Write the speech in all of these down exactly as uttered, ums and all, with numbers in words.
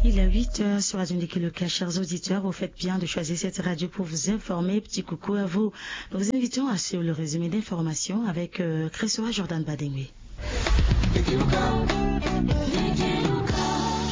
Il est huit heures sur Radio Ndeke Loka. Chers auditeurs, vous faites bien de choisir cette radio pour vous informer. Petit coucou à vous. Nous vous invitons à suivre le résumé d'informations avec euh, Christopher Jordan Badengui.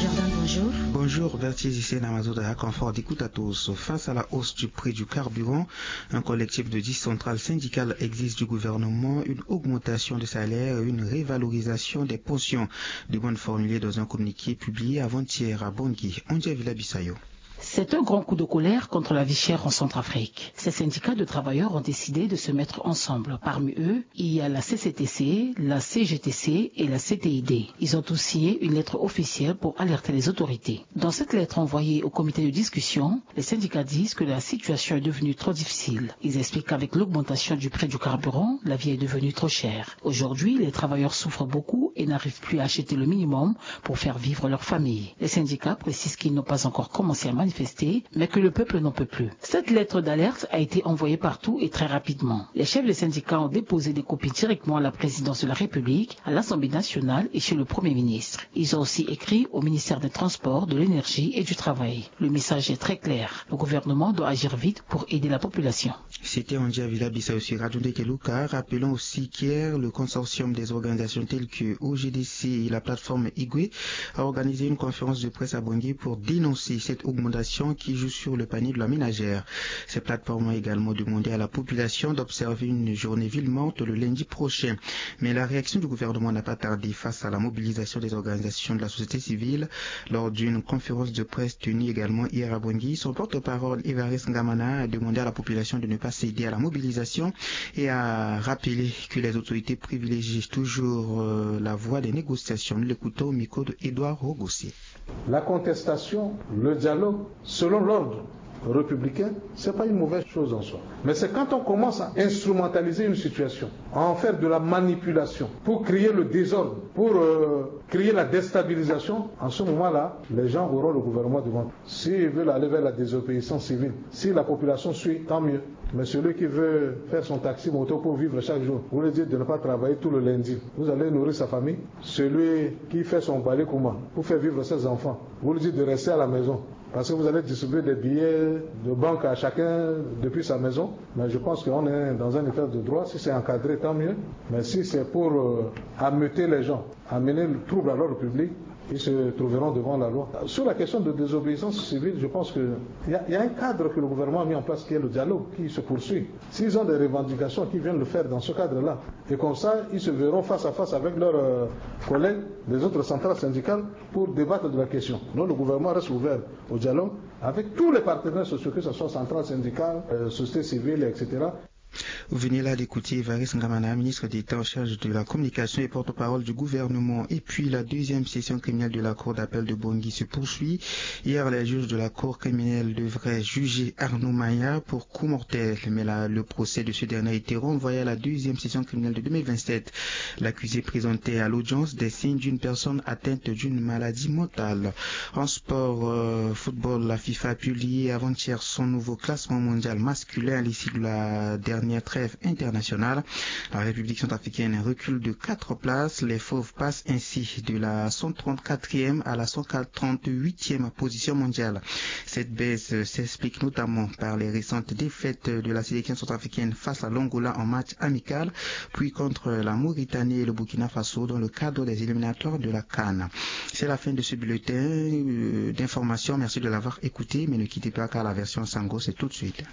Jordan, bonjour. Bonjour, Bertie Zissé Namazoda, confort d'écoute à tous. Face à la hausse du prix du carburant, un collectif de dix centrales syndicales exige du gouvernement une augmentation de salaire et une révalorisation des pensions. Demande formulée dans un communiqué publié avant-hier à Bangui. Andia Villa Bissayo. C'est un grand coup de colère contre la vie chère en Centrafrique. Ces syndicats de travailleurs ont décidé de se mettre ensemble. Parmi eux, il y a la C C T C, la C G T C et la C T I D. Ils ont tous signé une lettre officielle pour alerter les autorités. Dans cette lettre envoyée au comité de discussion, les syndicats disent que la situation est devenue trop difficile. Ils expliquent qu'avec l'augmentation du prix du carburant, la vie est devenue trop chère. Aujourd'hui, les travailleurs souffrent beaucoup et n'arrivent plus à acheter le minimum pour faire vivre leur famille. Les syndicats précisent qu'ils n'ont pas encore commencé à manifester, mais que le peuple n'en peut plus. Cette lettre d'alerte a été envoyée partout et très rapidement. Les chefs des syndicats ont déposé des copies directement à la présidence de la République, à l'Assemblée nationale et chez le Premier ministre. Ils ont aussi écrit au ministère des Transports, de l'Énergie et du Travail. Le message est très clair. Le gouvernement doit agir vite pour aider la population. C'était Andia Villa Bissayo sur Radio Ndeke Loka. Rappelons aussi qu'hier, le consortium des organisations telles que O G D C et la plateforme Igwe a organisé une conférence de presse à Bangui pour dénoncer cette augmentation qui joue sur le panier de la ménagère. Ces plateformes ont également demandé à la population d'observer une journée ville morte le lundi prochain. Mais la réaction du gouvernement n'a pas tardé face à la mobilisation des organisations de la société civile lors d'une conférence de presse tenue également hier à Bangui. Son porte-parole, Évariste Ngamana, a demandé à la population de ne pas céder à la mobilisation et a rappelé que les autorités privilégient toujours euh, la voie des négociations. Nous l'écoutons au micro de Édouard Rogossier. La contestation, le dialogue, selon l'ordre républicain, c'est pas une mauvaise chose en soi. Mais c'est quand on commence à instrumentaliser une situation, à en faire de la manipulation, pour créer le désordre, pour euh, créer la déstabilisation, en ce moment-là, les gens auront le gouvernement devant. S'ils veulent aller vers la désobéissance civile, si la population suit, tant mieux. Mais celui qui veut faire son taxi moto pour vivre chaque jour, vous lui dites de ne pas travailler tout le lundi. Vous allez nourrir sa famille. Celui qui fait son balai comment pour faire vivre ses enfants, vous lui dites de rester à la maison. Parce que vous allez distribuer des billets de banque à chacun depuis sa maison. Mais je pense qu'on est dans un état de droit. Si c'est encadré, tant mieux. Mais si c'est pour euh, ameuter les gens, amener le trouble à l'ordre public, ils se trouveront devant la loi. Sur la question de désobéissance civile, je pense qu'il y, a- y a un cadre que le gouvernement a mis en place qui est le dialogue qui se poursuit. S'ils ont des revendications, qu'ils viennent le faire dans ce cadre-là. Et comme ça, ils se verront face à face avec leurs euh, collègues des autres centrales syndicales pour débattre de la question. Donc le gouvernement reste ouvert au dialogue avec tous les partenaires sociaux, que ce soit centrales syndicales, euh, société civile, et cetera. Vous venez là d'écouter Évariste Ngamana, ministre d'État en charge de la communication et porte-parole du gouvernement. Et puis, la deuxième session criminelle de la Cour d'appel de Bangui se poursuit. Hier, les juges de la Cour criminelle devraient juger Arnaud Maya pour coup mortel. Mais là, le procès de ce dernier a été renvoyé à la deuxième session criminelle de deux mille vingt-sept. L'accusé présentait à l'audience des signes d'une personne atteinte d'une maladie mentale. En sport, euh, football, la FIFA a publié avant-hier son nouveau classement mondial masculin à l'issue de la dernière trêve internationale. La République centrafricaine recule de quatre places. Les Fauves passent ainsi de la cent trente-quatrième à la cent trente-huitième position mondiale. Cette baisse s'explique notamment par les récentes défaites de la sélection centrafricaine face à l'Angola en match amical, puis contre la Mauritanie et le Burkina Faso dans le cadre des éliminatoires de la CAN. C'est la fin de ce bulletin euh, d'information. Merci de l'avoir écouté, mais ne quittez pas car la version Sango, c'est tout de suite.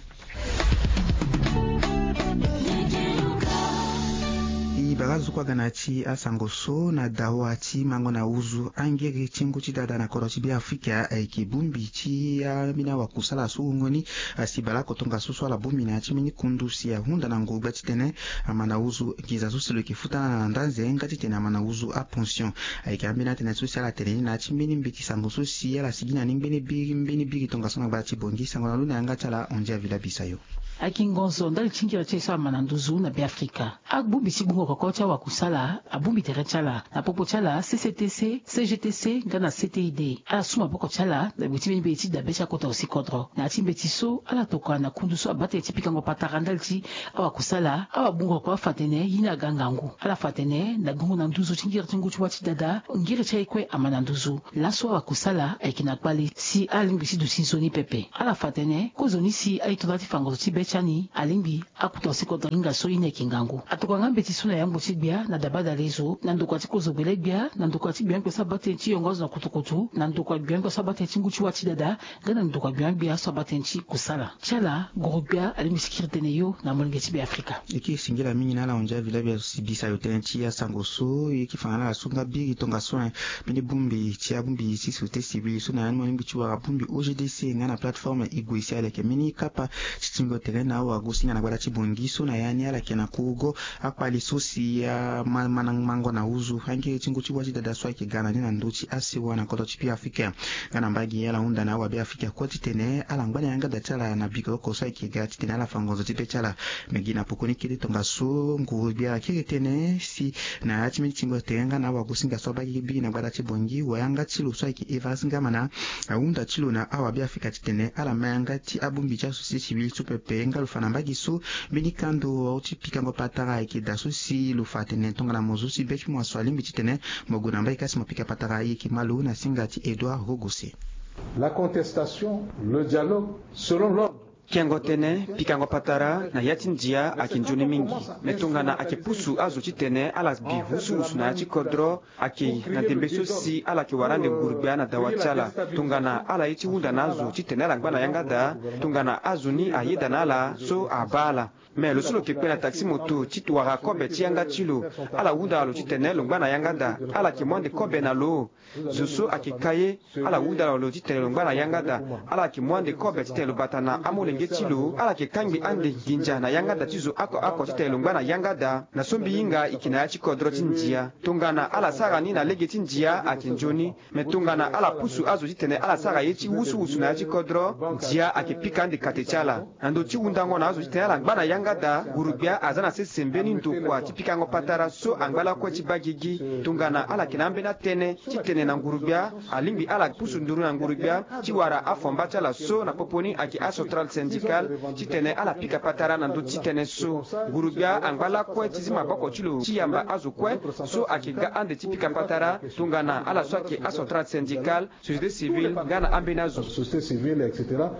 E bara zo kue aga na ya ti asango so na dawa ti mango na uzu angere ti ngu ti dada na kodro ti Beafrika ayeke bongbi ti ambeni awakusala so wungo ni asi baleoko tongaso so ala bongbi na ya ti mbeni kundu si ahunda na ngogba titene ama na uzu nginza so si lo yeke futa na ndanze nga titene ama na uzu apension. Ayeke ambeni atënë so si ala tene ni na ya ti mbeni mbeti sango so si ala sigi na ni mbeni biri mbeni biri tongaso na gbata ti Bangui. Sango na lo na yanga ti ala Andia Villa Bisayo. Akingonzo ndali ti ngira ti e so ama na nduzu na Beafrika. Agbongbi ti gbungo Oko ti awakusala abongbi tere ti ala na popo ti ala, C C T C, C G T C nga na C T I D. Ala su maboko ti ala na gbe ti mbeni mbeti ti dabe ti akota osi kodro. Na ya ti mbeti so ala tokua na kundu so abaa tënë ti pikango patara ndali ti awakusala, awabungo oko afa atene ye ni aga ngangu. Ala fa atene na gongo na nduzu ti ngiri ti ngu ti wâ ti dada, ngiri ti aye kue ama na nduzu. Laso awakusala ayeke na kpale si alingbi ti duti nzoni pepe. Ala fa atene kozoni si aye tonda ti fango zo ti be ti ani alingbi akuta osi kodro hinga so ye ni ayeke ngangu. Atokua nga mbeti so na yangbo ti gbia na dabadale zo, na ndokua ti kozo gbele gbia, na ndokua ti gbia gbia so abaa tënë ti yongo azo na kutukutu, na ndokua gbia gbia so abaa tënë ti ngu ti wâ ti dada, nga na ndokua gbia gbia so abaa tënë ti kusala. Ti ala guru gbia alingbi ti kiri tënë yo na molenge ti Beafrika. E kiri singila mingi na ala hunzi avila bia si bisa yo tënë ti asango so e yeke fa na ala so nga biri tongaso, eh, mbeni bongbi ti abongbi ti société civile so na ya ni mo lingbi ti wara bongbi O G D C nga na plateforme e gue si ala yeke mbeni kapa ti tingo tere na awagosinga na gbata ti Bangui so na ya ni ala yeke na kurugo akpali so si ama mango na huzu angiri ti ngu ti wâ ti dada so ayeke ga na ni na ndö ti asewa na kodro ti Beafrika. Nga na mbage ala hunda na awabeafrika kue titene ala ngba na yanga da ti ala na bikoko so ayeke ga titene ala fa ngonzo ti be ti ala. Me gi na pokoni kete tongaso nguru gbia akiri tënë si na ya ti mbeni tingo tere nga na awagosinga so abaa gi biri na gbata ti Bangui, wayanga ti lo so ayeke Évariste Ngamana ahunda ti lo na awabeafrika titene ala ma yanga ti abongbi ti asociété civile so pepe nga lo fa na mbage so mbeni kando ti pikango patara ayeke daa so si lo fa atene tongana mo zo si be ti mo aso alingbi titene mo gue na mbage ka si mo pika patara, e yeke ma lo na singa ti Edouard Rogose. La contestation, le dialogue, selon l'ordre. Kengo tënë, pikango patara na ya ti ndia ayeke nzoni mingi. Me tongana ayeke pusu azo titene ala bi husuhusu na ya ti kodro, ayeke na ndembe so si ala yeke wara ande nguru gbia na dawa ti ala. Tongana ala ye ti hunda na azo titene ala ngba na yanga da, tongana azo ni ayeda na ala so abaa ala. Me lo so lo yeke kpe na taxi moto ti wara kobe ti yanga ti lo, ala hunda lo titene lo ngba na yanga da, ala yeke mu ande kobe na lo. Zo so ayeke ka ye, ala hunda lo titene lo ngba na yanga da, ala yeke mu ande kobe titene lo bata na amolenge ti lo, ala yeke kangbi ande nginza na yanga da ti zo oko oko titene lo ngba na yanga da. Na so mbi hinga e yeke na ya ti kodro ti ndia. Tongana ala sara ni na lege ti ndia ayeke nzoni. Me tongana ala pusu azo titene ala sara ye ti wusuwusu na ya ti kodro, ndia ayeke pika ande kate ti ala. Na ndo ti hundango na azo titene ala ngba na yanga da, nguru gbia aza na sese mbeni ndokua ti pikango patara so angba lakue ti baa gigi. Tongana ala yeke na ambeni atënë titene na nguru gbia alingbi ala pusu nduru na nguru gbia ti wara afomba ti ala so na popo ni ayeke acentrale syndicale titene ala pika patara na ndö ti tënë so. Nguru gbia angba lakue ti zi maboko ti lo ti yamba azo kue so ayeke ga ande ti pika patara tongana ala so ayeke acentrale syndicale, société civile nga na ambeni azo. Société civile, et cetera.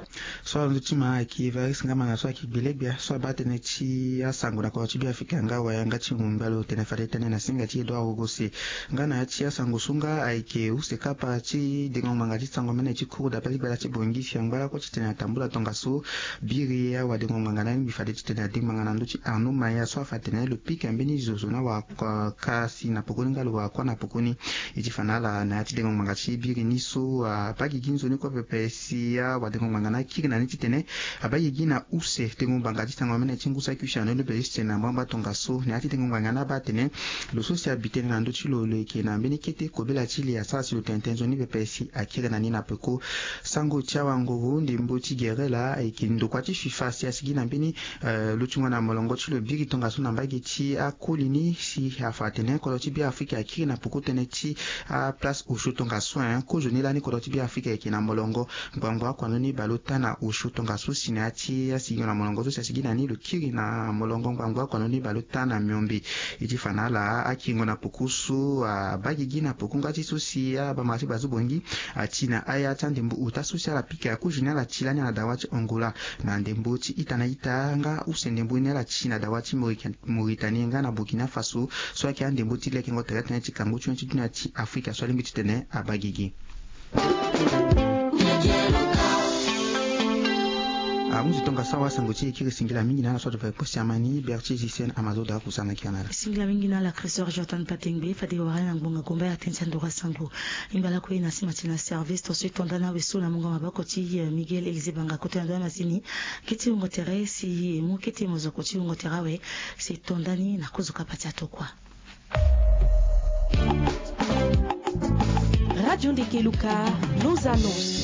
So alonzo ti ma ayeke Évariste Ngamana so ayeke gbelegbia so abaa tënë ti asango na kodro ti Beafrika nga wayanga ti ngumba lo tene fade tënë na singa ti Edouard Rogose. Nga na ya ti asango so nga ayeke use kapa ti dengo ngbanga ti sango mene ti cour d'appel ti gbata ti Bangui si angba lakue titene atambula tongaso biri awadengo ngbanga na alingbi fade titene adengo ngbanga na ndö ti Arnaud Maya so afa atene lo pika mbeni zo zo na wara ka si na pokoni nga lo wara kua na pokoni. E ti fa na ala na ya ti dengo ngbanga ti biri ni so abaa gigi nzoni kue pepe si awadengo ngbanga ni akiri na ni titene abaa gigi na use dengo ngbanga ti sango mene ti ngu saki use na ni lo bele titene na mbamba tongaso na ya ti dengo ngbanga ni abaa atene lo so si abi tënë na ndö ti lo lo yeke na mbeni kete kobela ti li asara si lo tene tënë nzoni pepe si akiri na ni na peko. Sango ti awanguru ndembo ti gere laa ayeke ndokua ti fifa si asigi na mbeni eh, lutingo na molongo ti lo biri tongaso na mbage ti akoli ni si afa atene kodro ti Beafrika akiri na peko tënë ti aplace osio tongaso, eh, kozoni lani kodro ti Beafrika ayeke na molongo ngbangbo akua ndoni baleota na osio tongaso si na ya ti asigingo na molongo so si asigi na ni lo kiri na molongo ngbangbo akua ndoni baleota na miombe. E ti fa na ala akiringo na peko so abaa gigi na peko nga ti so si abamara ti bazo bongi ati na aya ti andembo ota so si ala pika kozoni ala ti lani na dawa ti Angola. Na ndembo ti ita na ita nga use ndembo ni ala ti na dawa ti Mauritanie nga na Burkina Faso so ayeke andembo ti lekengo tere tënë ti kangu ti hon ti dunia ti Afrika so alingbi titene abaa gigi. Ahundi tongaso awasango ti e kiri singila mingi na ala so ato fa e kpo siama ni Bertier Gisène Amazoda akusana kia na ala. Singila mingi na ala Christophe Jordan Patengbe fade wara na ngbonga gomba ya tënë ti andoro asango. Imbala kue na sima ti na service to so e tonda na awe so na mungo maboko ti, eh, Miguel Élisée Banga kota na ndo na masini. Kete wungo tere si mu kete mozoko ti wungo tere awe si e tonda ni na kozo kapa ti atokua. Radio Ndekeluka, nos annonces.